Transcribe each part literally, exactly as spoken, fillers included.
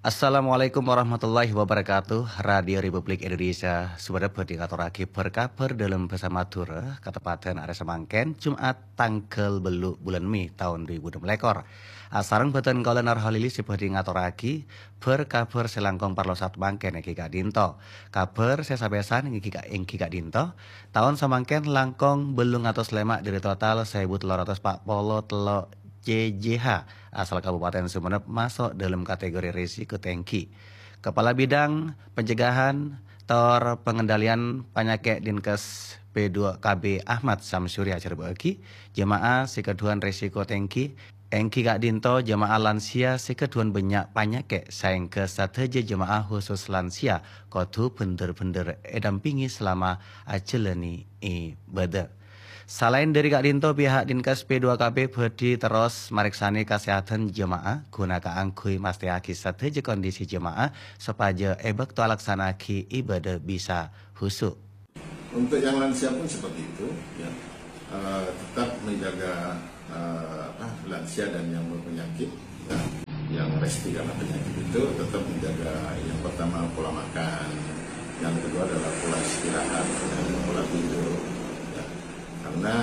Assalamualaikum warahmatullahi wabarakatuh. Radio Republik Indonesia, saudara, bhâdhi ngatorraghi bhâr-kabhâr dâlem bhâsa Madhurâ, kateppadhân arè samangkèn, Jumat, tangghâl bâllu' bulân Mei taon dhu èbu ennem lèkor. Asareng bhâdhân kaulâ Nur Kholili sè bhâdhi ngatorraghi bhâr-kabhâr sè langkong parlo saat mangkèn èngghi ka'dinto. Kabhâr sè sapèsan èngghi ka-, èngghi ka'dinto, taon samangkèn langkong bâllung atos lèma' dâri total sèbu tello ratos pa' polo tello' C J H asal Kabupaten Sumenep maso' dâlem kategori risiko tèngghi. Kepala Bidang Pencegahan tor Pengendalian Panyakè' Dinkes P dua K B Ahmad Samsuri ajhârbâ'âghi, jemaah sè kaduwân risiko tèngghi, èngghi ka'dinto jemaah lansia sè kaduwân bânnya' panyakè', saèngghâ sadhâjâ jemaah khusus lansia kodhu bhender-bhender èdampingi selama ajhâlâni ibâdâ. Salaèn dâri ka'dinto, pihak Dinkes P dua K B bhâdhi terros marèksanè kasèhadhân jemaah, ghuna kaangghuy mastèyaghi sadhâjâ kondisi jemaah sopajâ è bâkto alaksana'aghi ibâdâ bisa khusu'. Untuk yang lansia pun seperti itu, ya. Eh, tetap menjaga, eh, apa, lansia dan yang berpenyakit, ya. Yang resti karena penyakit itu tetap menjaga, yang pertama, pola makan, yang kedua adalah pola istirahat, ya, pola tidur, ya. Karena,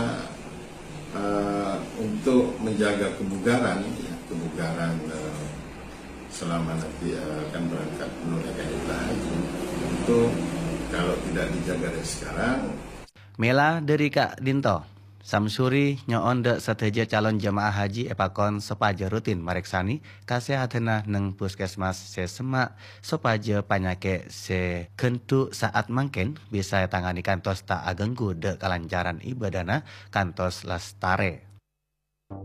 eh, untuk menjaga kebugaran, ya, kebugaran, eh, selama nanti, eh, akan berangkat menunaikan ibadah haji, tentu kalau tidak dijaga dari sekarang. Mèla dâri ka'dinto, Samsuri nyo'on dâ' sadhâjâ calon jemaah haji èpakon sopajâ rutin marèksanè kasèhadhânna neng puskesmas sè semma', sopajâ panyakè' sè ghândhu' saat mangkèn bisa ètangani kantos ta' aghânggu dâ' kalancaran ibâdâna kantos lastarè.